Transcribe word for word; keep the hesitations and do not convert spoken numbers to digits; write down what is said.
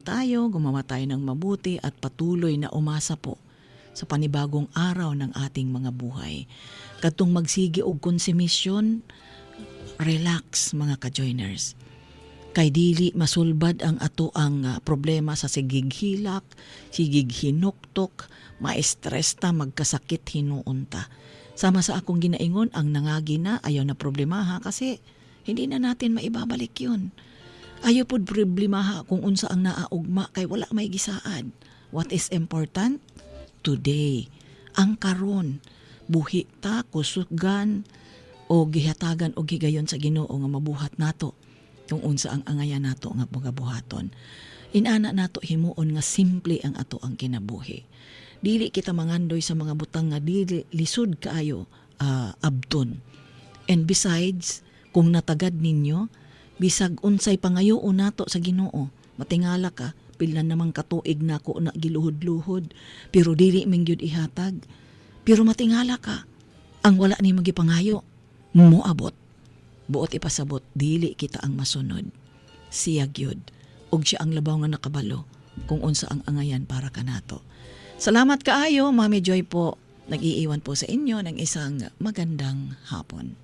Tayo, gumawa tayo ng mabuti at patuloy na umasa po sa panibagong araw ng ating mga buhay. Katong magsige og konsumisyon, relax, mga ka-joiners. Kay dili masulbad ang ato ang ah, problema sa sigig hilak, sigig hinuktok, ma-stress ta, magkasakit hinuon ta. Sama sa akong ginaingon, ang nangagi na, ayaw na problemaha kasi hindi na natin maibabalik yun. Ayaw pod problemaha kung unsa ang naaugma kay wala may gisaad. What is important? Today. Ang karon, buhi ta, kusugan, o gihatagan og higayon sa Ginoo nga mabuhat nato kung unsa ang angayan nato nga mga buhaton. Inana nato himuon nga simple ang ato ang kinabuhi. Dili kita mangandoy sa mga butang nga dili lisod kaayo uh, abton. And besides, kung natagad ninyo, bisag unsay pangayoon nato sa Ginoo, matingala ka, pila namang katuig nako na giluhod-luhod, pero dili man gyud ihatag. Pero matingala ka, ang wala ni magipangayo, moabot. Buot ipasabot, dili kita ang masunod. Siya gyud ug siya ang labaw nga nakabalo kung unsa ang angayan para kanato. Salamat kaayo, Mami Joy po. Nag-iiwan po sa inyo ng isang magandang hapon.